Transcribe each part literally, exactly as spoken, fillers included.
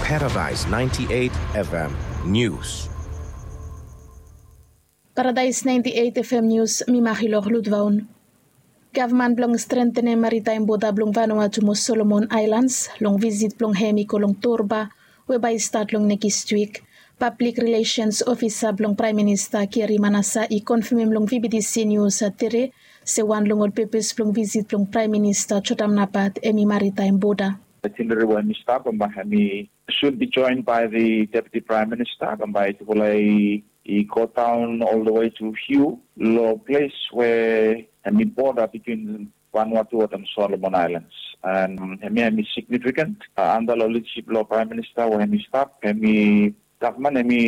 Paradise ninety-eight F M News. Paradise ninety-eight F M News, mi Mahilor Ludvaun. Gavman blong strentenem maritaem boda blong Vanuatu mo Solomon Aelans long visit blong hem i go long Torba, we bae i stat long nekis wik. Pablik rilesens ofisa blong Praem Minista Kiri Manasa i konfemem long V B T C News tere se wan long ol pepes blong visit blong Praem Minista Jotam Napat hem i maritaem boda. Atinere we hem i stap bambae hem i soon be joined by the Deputy Prime Minister bambae tufala i i go daon ol the way to Hugh lo ples we hem i boda bitwin Vanuatu wetem Solomon Aelans. And hemia hem i signifikant anda lo lidasip blo Praem Minista we hem i stap hem i gavman hem i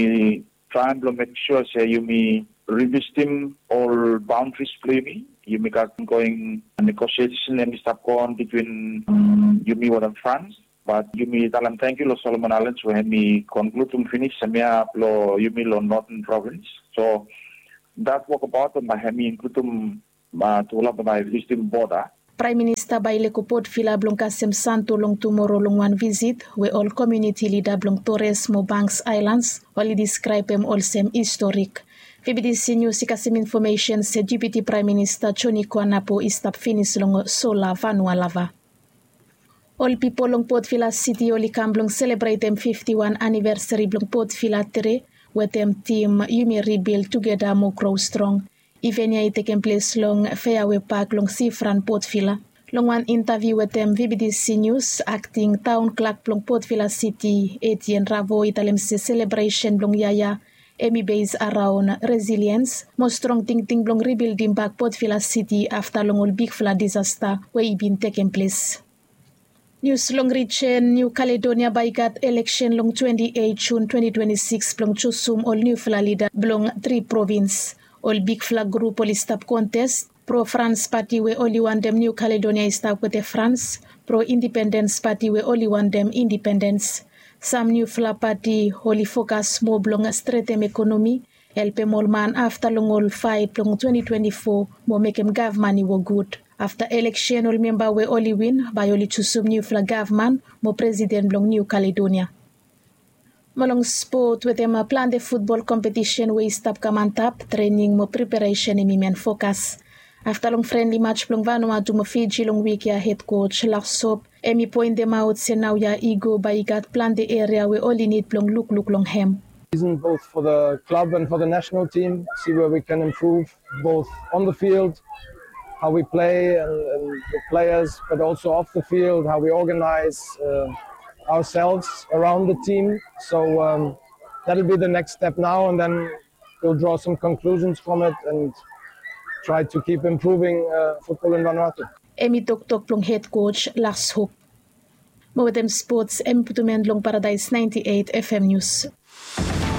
traem blo mek sua se yumi rivisitim ol baondaris blo yumi. Yumi gat ongoing negosiesen hem i stap goon bitwin yumi wetem Frans. Bat yumi talem tangkiu lo Solomon Aelans we hem i konkludim finis hemia blo yumi lo Nothen Provins. So dat wokabaot bambae hem i inkludim tufala bambae i visitim boda. Praem Minista bae i lego Port Vila blong kasem Santo long tumoro long wan visit we ol komuniti lida blong Torres mo Banks Aelans oli diskraebem olsem historik. V B T C News i kasem infomesen se Deputy Praem Minista Joni Kuanapo i stap finis long Sola Vanua Lava. Ol pipol long Port Vila Siti oli kam blong selebretem fifti wan anivesari blong Port Vila tere wetem tim Yumi Ribil Tugeta Mo Gro Strong. Iven ya i tekem ples long Feawe Pak long sifran Port Vila. Long wan intaviu wetem V B T C News, akting taon klak blong Port Vila Siti, Etienne Ravo i talem se selebresen blong yia ya hem i bes araon resiliens mo strong tingting blong ribildim bak Port Vila Siti afta long ol bigfala disasta we i bin tekem ples. Nius long rijen Niu Kaledonia bae i gat eleksen long twenti eit Jun twenti twenti sikis blong jusum ol niufala lida blong tri provins. Ol bigfala grup oli stap kontes. Pro Frans pati we oli wantem Niu Kaledonia i stap wetem Frans. Pro Indipendens pati we oli wantem indipendens. Sam niufala pati oli fokas moa blong stretem ekonomi, helpem ol man afta long ol faet blong twenti twenti fo mo mekem gavman i wok gud. Afta eleksen ol memba we oli win bae oli jusum niufala gavman mo presiden blong Niu Kaledonia. Mo long spot wetem plante futbol kompetisen we i stap kam antap, trening mo preparesen hem i men fokas. Afta long frenli maj blong Vanuatu mo Fiji long wik ya, hed koj Lars Hop hem i poentemaot se naoia i go bae i gat plante eria we oli nid blong lukluk long hem. Season both for the club and for the national team, see where we can improve both on the field, how we play and, and the players, but also off the field, how we organize uh, ourselves around the team. So um, that'll be the next step now, and then we'll draw some conclusions from it and try to keep improving uh, football in Vanuatu. Hem i toktok blong hed koj Lars Hop. Mo wetem spots hem i putum en long Paradise ninety-eight F M News.